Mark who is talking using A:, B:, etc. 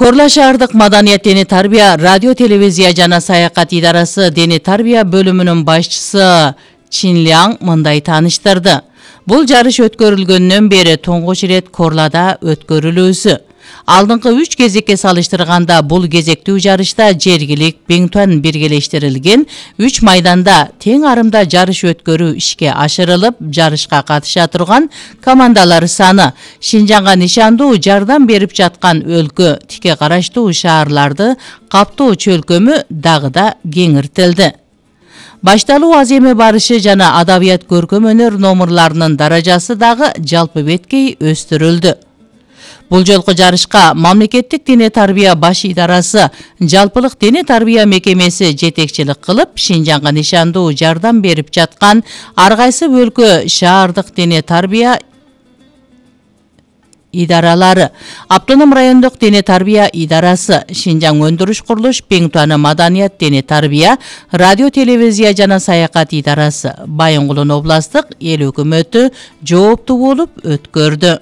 A: Корла шаардык маданият дене тарбия радио телевизия жана саякат идарасы дене тарбия бөлүмүнүн башчысы Чин Ляң мындай тааныштырды. Бул жарыш өткөрүлгөндөн бери туңгуч ирет Корлада өткөрүлүүсү. Алдыңкы 3 кезекке салыштырганда бул кезектүү жарышта жергилик Беңтуан биргелештирилген 3 майданда тең арымда жарыш өткөрүү ишке ашырылып, жарышка катыша турган командалар саны Шинжаңга нишандуу жардам берип жаткан өлкө, тике караштуу шаарларды каптоо чөлкөмү дагы да кеңиртилди. Башталуу аземе барышы жана адабият көркөм өнөр номурларынын даражасы дагы жалпы беткей өстүрүлдү. Бул жолку жарышка мамлекеттик дене тарбия баш идарасы жалпылык дене тарбия мекемеси жетекчилик кылып, Шинжаңга нишандуу жардам берип жаткан ар кайсы өлкө шаардык дене тарбия идаралары, Автоном райондук дене тарбия идарасы, Шинжаң өндүрүш курулуш Беңтуаны маданият дене тарбия, радио телевизия жана саякат идарасы, Байынгулдун областтык эл өкмөтү жооптуу болуп өткөрдү.